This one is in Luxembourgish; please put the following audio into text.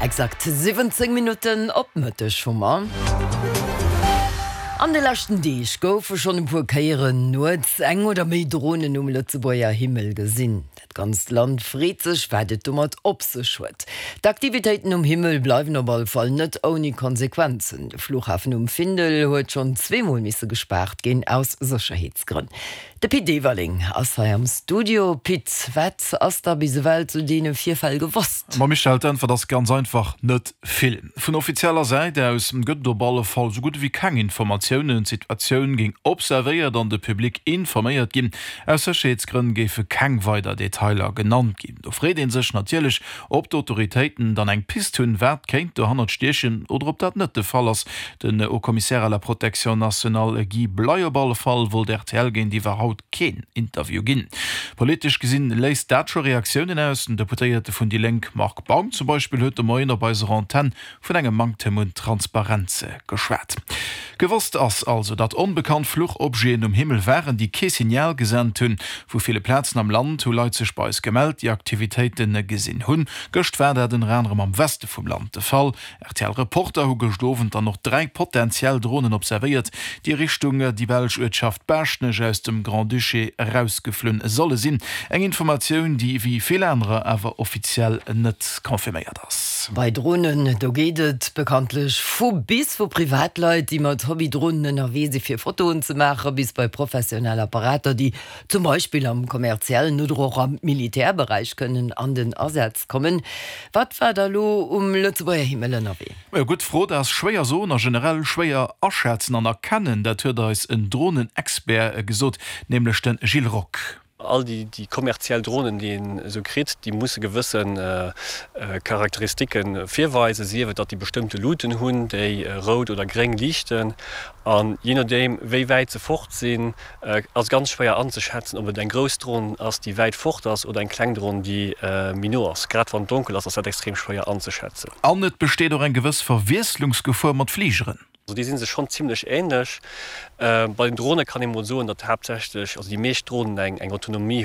Exakt 17 Minutten op Mëtteg hu mer. An de leschten Deeg goufe schonn e puer Kéieren nuets eng oder méi Dronen um Lëtzebuerger Himmel gesinn. Dat ganzt Land freet sech, wat et domat op sech huet. D'Aktivitéiten um Himmel bleiwen op alle Fall net ouni Konsequenzen. De Flughafen um Findel huet schonn zweemol misse gespaart ginn, aus Sécherheetsgrënn. De Pit Everling ass hei am Studio. Pit, wat ass da bis ewell zu deene Virfäll gewosst? Ma Michèle, d'Äntwert ass ganz einfach, net vill. Vun offizieller Säit aus gëtt et op alle Fall sou gutt ewéi keng Informatiounen. D'Situatioun géing observéiert an de Public informéiert ginn. Aus Sécherheetsgrënn géife keng weider Detailer genannt ginn. Do freet ee sech natierlech, ob d'Autoritéiten dann eng Pist hunn, wat kéint dohannert stiechen oder ob dat net de Fall ass. Den Haut-Commissaire à la protection nationale Guy Bley op alle Fall wollt rtl géintiwwer haut keen Interview ginn. Politesch gesinn léist dat scho Reaktiounen aus. Den Deputéierte vun déi Lénk Marc Baum zum Beispill huet de Moien op eiser Antenn vun engem Manktem un Transparenz geschwat. Gewosst ass also, datt onbekannt Fluchobjeten um Himmel waren, déi kee Signal gesent hunn. Vu ville Plazen am Land hu Leit sech bei eis gemellt, déi Aktivitéite gesinn hunn. Gëscht war dat ënner anerem am Weste vum Land de Fall. RTL-Reporter hu gëscht Owend dann och 3 potentiell Dronen observéiert, déi Richtung déi belsch Uertschaft Baaschtnech aus dem Grand-Duché erausgeflunn solle sinn. Eng Informatioun, déi wéi vill anerer awer offiziell net confirméiert ass. Bei Dronen, do geet et bekanntlech vu bis, vu Privatleit, déi mat Hobby-Dronen ënnerwee si fir Fotoen ze maachen, bis bei professionell Apparater, déi zum Beispill am kommerziellen oder och am Militärberäich kënnen an den Asaz kommen. Wat war da lo um Lëtzebuerger Himmel ënnerwee? Majo, gutt Fro. Dat ass schwéier soen a generell schwéier aschätzen an erkennen. Dat huet eis en Dronen-Expert gesot, nämlech de Gilles Rock. All déi kommerziell Dronen, déi een esou kritt, déi musse gewësse Charakteristike virweisen, sief et, datt déi bestëmmte Luuten hunn, déi rout oder gréng liichten. An jee nodeem, wéi wäit se fort sinn, ass ganz schwéier anzeschätzen, ob et eng grouss Dron ass, déi wäit fort ass, oder eng kleng Dron, déi méi no ass. Grad wann et donkel ass, ass dat extrem schwéier anzeschätzen. An et besteet och eng gewëss Verwiesslungsgefor mat Fligeren. Also déi si sech schonn zimmlech änlech. Bei den Drone kann ee mol soen, datt haaptsächlech, also déi meescht Dronen eng Autonomie.